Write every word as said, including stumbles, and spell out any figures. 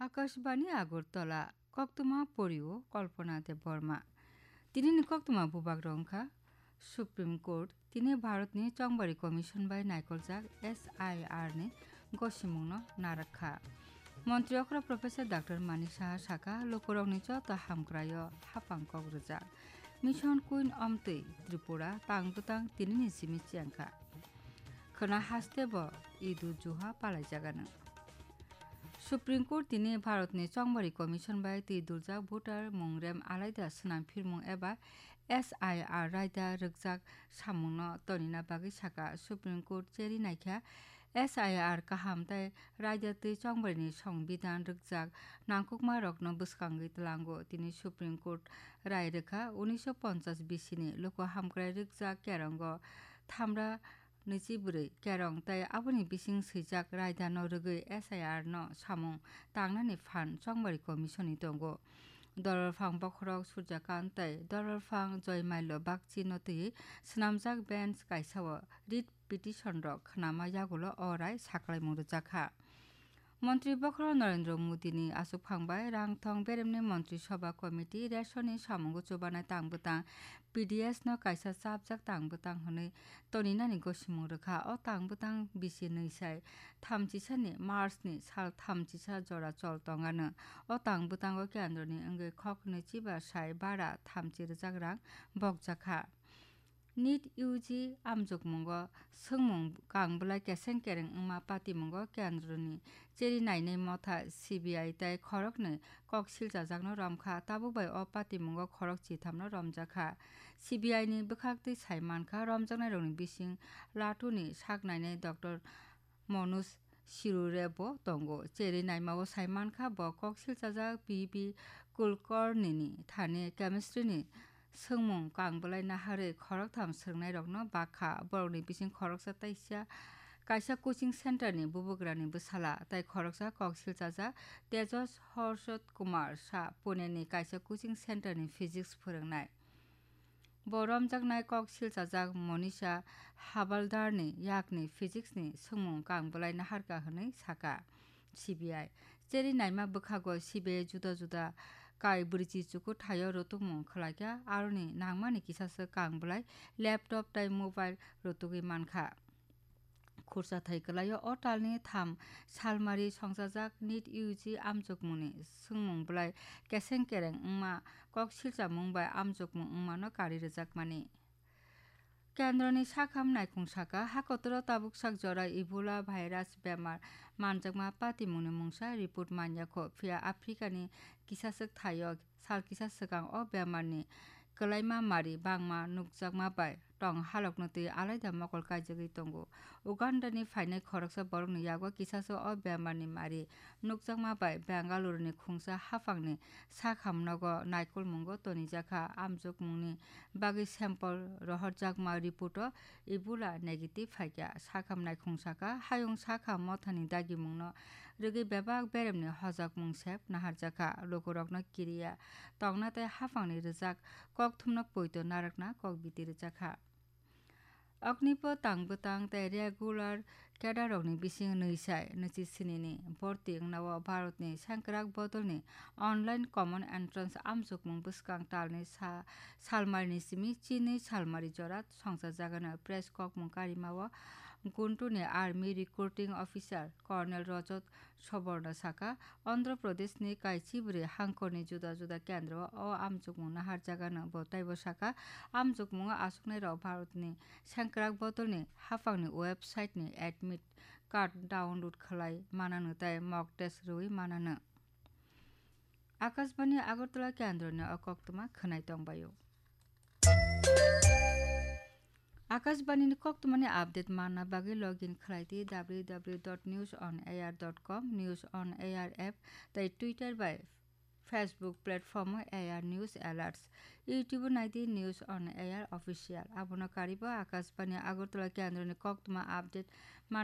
Akashbani Agartala, koktwma porio Kalpana Debbarma. Tinini koktwma bubak rok wngkha, Supreme Court tini Bharatni Chongbari Commission bai naikoljak S I R ni gosimungno narakha. Montri okra Professor Doctor Manik Saha saka, lukurokni joto hamkraio hapang kok rwjak. Mission Queen Omtwi Tripura tang bwtang tinini simi chengkha. Khwna haste bo Idu Juha palaijagano. Supreme Court tini Bharatni Chongbari Commission bai twi duljak voter mung rem alaida swnam phirmung eba S I R raida rwkjak samungno tonina bagwi saka, Supreme Court cheri naikha S I R kaham tei raida twi Chongbarini Songbidan rwkjak nangkukmarokno bwskangwi tlango. Tini Supreme Court rai rwkha unisho ponchas bisini luku hamkrai rwkjak kerongo thamra nwichi bwrwi kerong tei aboni bising swijak raidano rwgwi S I R no samung tangnani phan Chongbari Commission ni tongo. Dolorphang bokhorok Surjakant tei Dolorphang Joymailo Bakchi no twiwi swnamjak bench kaisa o writ petition rok khnama yagulo o rai saklaimung rwjakha. Montri bokhorok Narendra Modi ni aswkphang bai rangthong beremni Montri Sabha Committee ration ni samungo chubanai tang bwtang P D S no kaisa chapjak tang bwtang hwnwi toninani gosimung rwkha. O tang bwtang bisi nwi sai thamchisa ni March ni sal thamchisa jora chol tongano. O tang bwtango kendroni wngwi khok nwichiba sai bara thamchi rwjak rang bokjakha. NEET U G amjokmungo swngmung kang bwlai keseng kereng wngma patimungo kendroni cheri nainai motha C B I tei khoroknwi kok silchajakno romkha. Tabuk bai o patimungo khorok chithamno romjakha. C B I ni bwkhaktwi sai mankha, romjaknairokni bising Latuni sak nainai Doctor Manoj Sirure bo tongo. Cheri naimao sai mankha, bo kok silchajak P B Kulkarni ni thani chemistry ni swngmung kang bwlai naharwi khoroktham swrwngnairokno bakha. Borokni bising khoroksa taisa kaisa coaching center ni bubagrani bwsala, tei khoroksa kok silchajak Tejas Harshad Kumar Shah, Pune ni kaisa coaching center ni physics phwrwngnai. Bo romjaknai kok silchajak Monisha Habaldarni yakni physics ni swngmung kang bwlai naharkha hwnwi saka C B I. Cheri naima bwkhago C B I juda juda kai bwrwichi chukuthaio rwtwkmung khwlaikha, aroni nangmani kisaswk kang bwlai laptop tei mobile rwtwgwi mankha. Khursa thai kwlaio o talni tham salmari songchajak NEET U G amjokmungni swngmung bwlai keseng kereng wngma kok silchamung bai amjokmung wngmano kari rwjakmani. Kendroni sakham naikhung saka, hakotoro tabuk sak jora Ebola virus bemar manjakma patimungni mungsa report manyakho, phiya Africani kisaswk thaio sal kisa swkang o bemarni kwlaima mari bangma nukjakma bai tong halokno twi alaida mokol kaijagwi tongo. Ugandani phainai khoroksa borokni yago kisasa o bemarni mari nukjakma bai Bengaluruni khungsa haphangni sakhamnogo naikolmungo tonijakha. Amjokmungni bagwi sample rohorjakma report o Ebola negative phaikha. Sakham naikhung saka, hayung sakham mothani dagimungno rwgwi bebak beremni hojakmung sep naharjakha. Lukurokno kiriya tongna tei haphangni rwjak kokthumno poito narwkna kok biti rwjakha. Oknipo tang bwtang tei regular cadre rokni bising nwi sai nwichi sinini borti wngnao Bharatni sengkrak bodolni online common entrance amjokmung bwskang talni sa-, salmarini simi chinwi salmari jora songchajagano. Press kokmung karimao Guntuni Army Recruiting Officer Colonel Rajat Suborna saka, Andhra Pradeshni kaichibwrwi hangkhorni juda juda kendro o amjokmung naharjagano. Bo taibo saka, amjokmungo achuknairok Bharatni sengkrak bodolni haphangni website-ni admit card download khlai manano tei mock test rwui manano. Akashbani Agartala kendroni o koktwma khwnai tongbaio. Akashbani ni koktwmani update manna bagwi login khlai di W W W dot news on air dot com, News on Air app tei Twitter bai Facebook platform o A R News Alerts, YouTube o nai di News on Air Official. Abono karibo Akashbani Agartala kendroni koktwma update